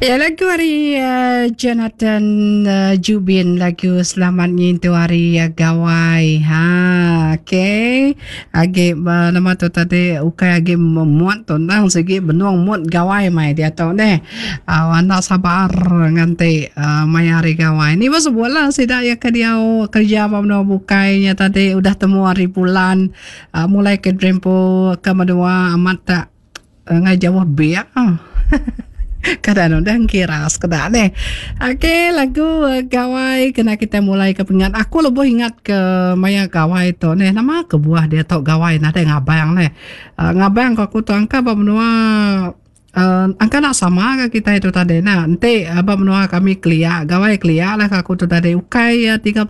Ya lagu ari uh, Jonathan uh, Jubin lagu Selamat Ngintu Hari uh, Gawai. Ha, okey. Agi uh, nama tu tadi ukai agi muat tu nang sigi benung muat gawai mai dia tu neh. Uh, anda sabar nganti uh, maya hari gawai. Ni masa lah sida ya ke diau kerja ba menua bukai nya tadi udah temu hari bulan uh, mulai ke Drempo ke menua amat tak Enggai jauh biak. Kada anu dah kira sekeda neh. Okey lagu eh, gawai kena kita mulai ke pengingat. Aku lebuh ingat ke maya gawai tu neh. Nama kebuah dia tu gawai nadai ngabang neh. Uh, ngabang ko aku tu angka ba menua uh, angka nak sama ke kita itu tadi nah. Enti uh, ba menua kami kelia gawai kelia lah aku tu tadi ukai uh, 31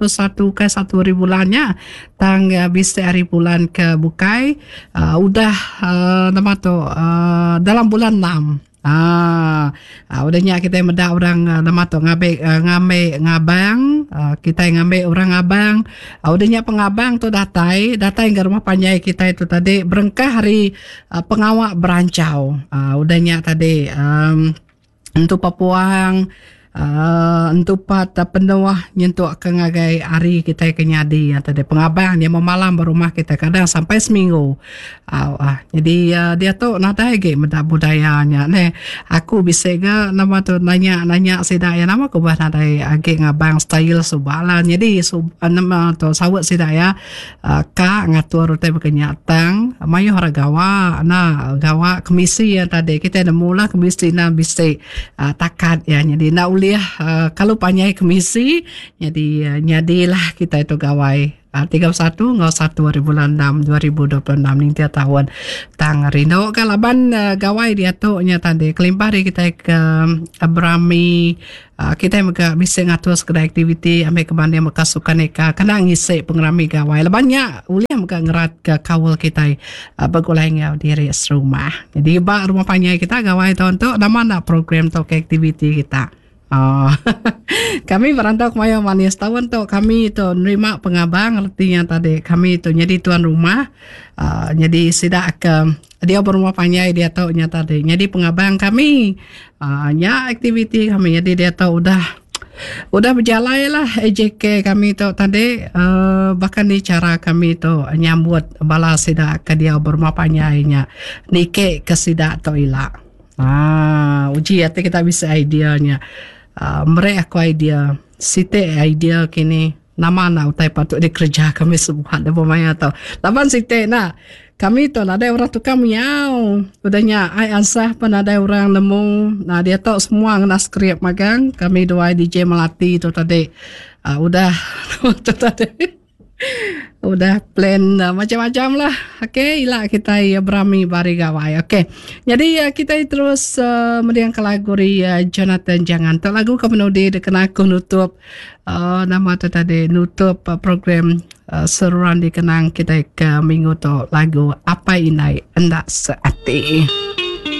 ukai 1 hari bulan nya. Tang bisi hari bulan ke bukai uh, udah uh, nama tu uh, dalam bulan 6. Ah, uh, udah nya kita meda orang uh, nama tu ngambi uh, ngambi ngabang, uh, kita ngambi orang ngabang. Uh, udah nya pengabang tu datai, datai ke rumah panjai kita itu tadi berengkah hari uh, pengawa berancau. Uh, udah nya tadi um, Entu pepuang uhh entu pat penuh nyentuk ke ngagai hari kitai ke nyadi tadi pengabang nya memalam ba rumah kitai kadang sampai seminggu au ah jadi uhh diatu nadai agi meda budaya nya neh aku bisi ga nama tu nanya nanya sida iya nama ke ubah nadai agi ngabang style suba lah nyadi nama tu saut sida iya. Ka ngatur utai baka nya tang mayuh orang gawa enda gawa kemisi iya tadi kitai nemu lah kemisi enda bisi uhh takat iya nyadi enda ulih uhh kalu panjai kemisi nyadi nyadilah kitai tu gawai uhh 31 enggau satu haribulan enam 2026 ninting taun. Tang rindu ka laban gawai diatu nya tadi kelimpah ari kitai ke berami Kitai mega bisi ngatur sekeda aktiviti ambi ke banding baka sukan eka kena ngisi pengerami gawai laban nya ulih mega ngeratka kaul kitai begulai enggau diri serumah. Jadi ba rumah panjai kita gawai taun tu nama enda program tauka aktiviti kita. Ooh kami berandau kemayuh manis taun tu kami tu nerima pengabang reti nya tadi kami tu nyadi tuan rumah aaa nyadi sida ke Diau ba rumah panjai diatu nya tadi nyadi pengabang kami. Aaa nya aktiviti kami nyadi diatu udah udah bejalai lah AJK kami tu tadi aaa baka ni chara kami tu nyambut bala sida ke diau ba rumah panjai nya niki ke sida tu ila. Aaa uji ati kita bisi idea nya. Aaa meri aku idea siti idea kini. Nama enda utai patut dikereja kami sebuat lebuh maya tu. Laban siti enda, kami tu nadai orang tukang miau. Udah nya ai ansah pun nadai orang nemu. Nah diatu semua ngena skrip magang kami duai DJ Melati tu tadi uhh udah tu tadi udah plan macam-macam lah. Okay ila kitai berami ba hari gawai. Okay nyadi kitai terus mendingka lagu ari Jonathan Jangan. Tu lagu ke penudi dikena aku nutup. Uh, nama tu tadi nutup uh, program uh, seruran dikenang kita ke minggu tu lagu Apai Indai Enda Seati.